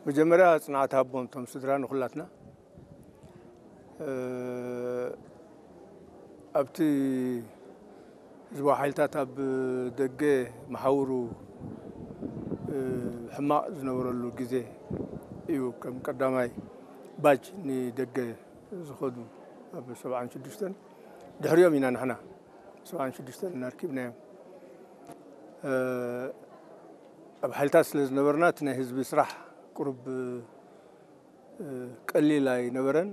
መጀመርያ ጽንዓት ሃቦም እቶም ስድራ ንኹላትና። እ፣ ኣብቲ ህዝባዊ ሓይልታት ኣብ ደገ መሓውሩ፣ እ፣ ሕማቕ ዝነበረሉ ግዜ እዩ። ከም ቀዳማይ ባጅ ንደገ ዝኸዱ ኣብ ሰብዓን ሽዱሽተን፣ ድሕሪኦም ኢና ንሕና ሰብዓን ሽዱሽተን እናርኪብናዮም። እ፣ ኣብ ሓይልታት ስለ ዝነበርና እቲ ናይ ህዝቢ ስራሕ ቁሩብ፣ እ፣ ቀሊል ኣይነበረን።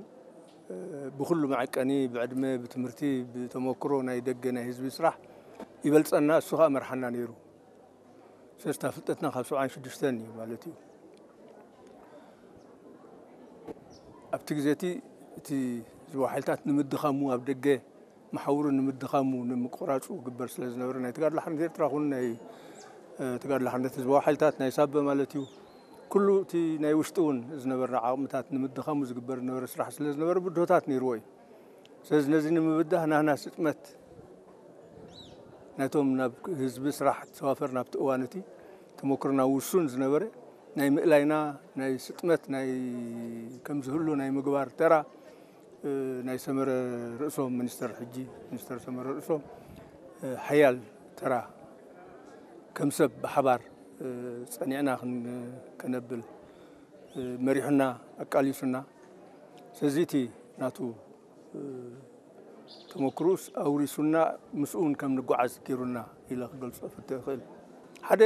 እ፣ ብኹሉ መዐቀኒ፣ ብዕድመ፣ ብትምህርቲ፣ ብተመክሮ ናይ ደገ ናይ ህዝቢ ስራሕ ይበልጸና፣ እሱ ኸኣ መርሓና ነይሩ። ስለዚ እታ ፍልጠትና ካብ ሰብዓን ሽዱሽተን እዩ ማለት እዩ። ኣብቲ ግዜ እቲ፣ እቲ ህዝባዊ ሓይልታት ንምድኻሙ፣ ኣብ ደገ መሓውሩ ንምድኻሙ፣ ንምቁራጹ ግበር ስለ ዝነበረ፣ ናይ ተጋድሎ ሓርነት ኤርትራ ኹን ናይ፣ እ፣ ተጋድሎ ሓርነት ህዝባዊ ሓይልታት ናይ ሳበ ማለት እዩ፣ ኩሉ እቲ ናይ ውሽጢ እውን ዝነበረ ዓቕምታት ንምድኻሙ ዝግበር ዝነበረ ስራሕ ስለ ዝነበረ ብድሆታት ነይርዎ እዩ። ስለዚ ነዚ ንምብዳህ ናህና ስጥመት ናይቶም ናብ ህዝቢ ስራሕ ተዋፈር ናብቲ እዋን እቲ ተመክሮና ውሱን ዝነበረ ናይ ምእላይና ናይ ስጥመት ናይ ከም ዝህሉ ናይ ምግባር ተራ፣ እ፣ ናይ ሰመረ ርእሶም ሚኒስተር፣ ሕጂ ሚኒስተር ሰመረ ርእሶም፣ እ፣ ሓያል ተራ ከም ሰብ ብሓባር፣ እ፣ ጸኒዕና ክን-፣ ከነብል፣ እ፣ መሪሑና፣ ኣቃሊሱና። ስለዚ እቲ ናቱ፣ እ፣ ተመክሮኡስ ኣውሪሱና፣ ምስኡ እውን ከም ንጓዓዝ ገይሩና ኢለ ክገልጾ ፍትሕ እኽእል። ሓደ